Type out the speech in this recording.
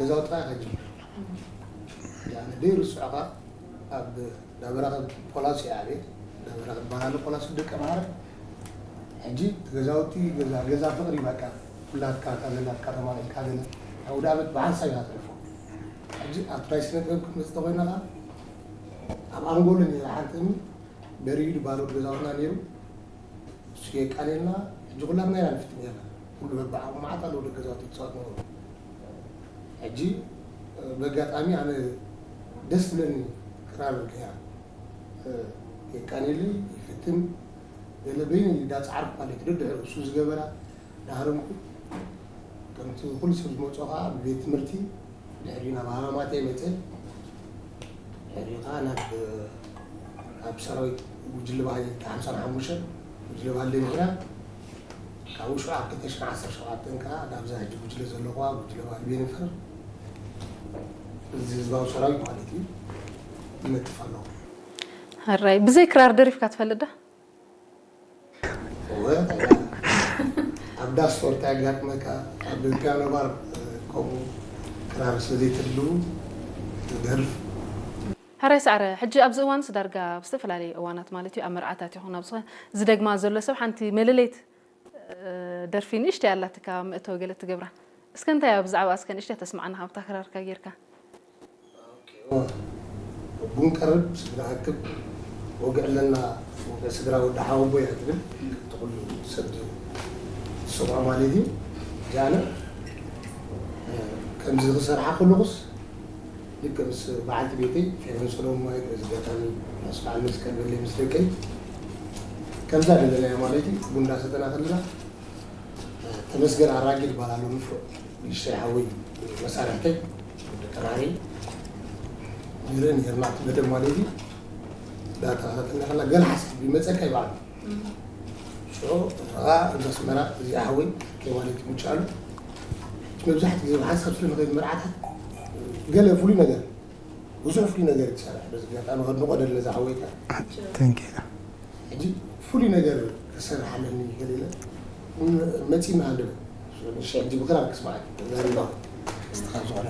ገዛውቲ ከጅምር። ያኒ ደይርስዑኻ ኣብ ዳበራኸ ፖላሲ ኣቤት ዳበራኸ ባናሉ ፖላሲ ደቀ ማረ። ሕጂ ገዛውቲ ገዛ ገዛ ፍቕሪ በቃ ኩላትካ እታ ዘላትካ ተማሊእካ ገለ ኣውደ ዓመት ብሓንሳብ ኢና ተልፎ። ሕጂ ኣብ ትራይ ስነ ጥበብ ክንመጽእ ተኾይና ኸዓ ኣብ ኣንጎሎ ነይራ ሓንቲ እምኒ በሪዱ ባዶ ገዛውትና ነይሩ። እሱ የቃልየልና። ሕጂ ኩላትና ኢና ንፍትን ነርና። ኩሉ በብዓቕሙ መዓት ኣለዉ ደቂ ገዛውቲ ክጻወት ነበሩ። ሕጂ ብኣጋጣሚ ኣነ ደስ ዝብለኒ ክራር ገይራ የቃንየለይ ይፍትን ገለ በይነይ እንዳጻዓርኩ ማለት እዩ። ደድሕሪ እሱ ዝገበራ ዳሃረምኩ። ከምቲ ኩሉ ሰብ ዝመፅኦ ከዓ ብቤት ትምህርቲ ድሕሪኡ ናብ ሃማማተይ መፀ። ድሕሪኡ ከዓ ናብ ኣብ ሰራዊት ጉጅለ ባህሊ ሓምሳን ሓሙሽተን ጉጅለ ባህሊ ምኽንያት ካብኡ ሽዑ ኣብ ክልተ ሽሕን ዓሰርተ ሸውዓተን ከዓ ናብዛ ሕጂ ጉጅለ ዘለኹዋ ጉጅለ ባህሊ ቤኒፈር እዚ ህዝባዊ ሰራዊት ማለት እዩ ይነጥፍ ኣለኹ። ሕራይ ብዘይ ክራር ደሪፍካ ትፈልጥ ዶ? ኣብ ዳስ ፎርታ ያጋጥመካ ኣብ ፒያኖ ባር ከምኡ ክራር ስለዘይትህልው ትደርፍ። ሕራይ ሳዕረ፣ ሕጂ ኣብዚ እዋንስ ዳርጋ ኣብ ዝተፈላለዩ እዋናት ማለት እዩ ኣብ መርዓታት ይኹን ኣብ ዝኾነ ዝደግማ ዘሎ ሰብ ሓንቲ መለለይት ደርፊ ንእሽተይ ኣላትካ መእተዊ ገለ ትገብራ። እስከ እንታይ እያ ብዛዕባ እስከ ንእሽተይ ተስምዓና ካብታ ክራርካ ጌርካ። ቡን ቀርብ ስድራ ኣክብ ወግዕ ኣለና ወግዕ ስድራ ወዲ ሓወቦ እያ ትብል። እቲ ኩሉ ሰብ ዝሰምዖ ማለት እዩ። ጃነ ከምዚ ክሰርሓ ከለኹስ ልክ ምስ በዓልቲ ቤተይ ፌቨን ሰሎሞን ማለት በዚ ኣጋጣሚ ምስ በዓል መስቀል በለይ ምስ ደቀይ ከምዛ ደለናዮ ማለት እዩ። ቡን እንዳሰተና ከለና ተመስገን ኣራጊ ይባላሉ። ንፍሮ ንእሽተይ ሓወይ መሳርሕተይ ደቀናሪ ንርኢ ነርና እቲ መደብ ማለት እዩ። እንዳተኸታተልና ከላ ገለ ሓሳብ ይመፀካ ይበዓሉ ሽዑ እኻ እዛ ኣስመራ እዚኣ ሓወይ ከይ ማለት ይምጭኣሉ። መብዛሕትኡ ግዜ ብሓንሳብ ስለ ንኸይድ መርዓታት ገለ ፍሉይ ነገር ብዙሕ ፍሉይ ነገር ትሰርሕ። በዚ ኣጋጣሚ ከድንቆ ደለ እዛ ሓወይካ Thank you። ሕጂ ፍሉይ ነገር ክሰርሕ ኣለኒ ገለ ኢለ መፂና ኣለበ ንሽ ሕጂ ብክራር ክስማዕ ዘሪባ ስትኻ ዝኾነ